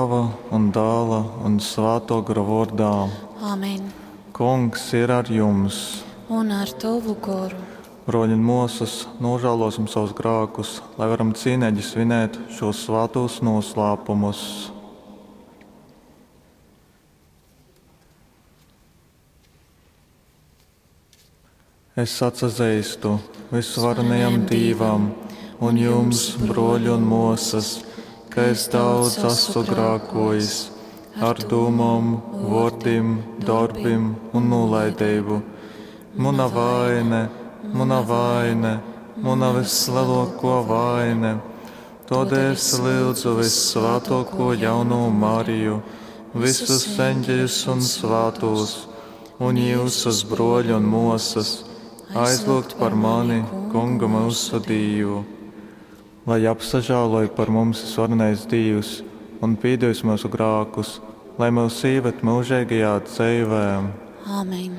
Tēva un Dāla un Svātō Gora vōrdā. Amen. Kungs ir ar jums. Un ar tovu goru. Brōļi un mōsas, nožēlosim savus grākus, lai varam cīneigi svinēt šos svātūs noslēpumus. Es atsazeistu visvarenajam Dīvam un jums, brōļi un mōsas, ka es daudz esmu grākojis ar dūmom, vōrdim, dorbim un nūlaideibu. Muna vaine, muna vaine, muna vislielāko vaine. Tādēļ es lūdzu vissvētāko jaunu Mariju, visus eņģeļus un svātos, un jūsus brōļi un mōsas, aizlūgt par mani, Kungu mūsu Dīvu. Lai apsažāloj par mums visvarenais Dīvs un pīdevis mūsu grākus, lai mūs īved mūžīgajā dzīvē. Amen.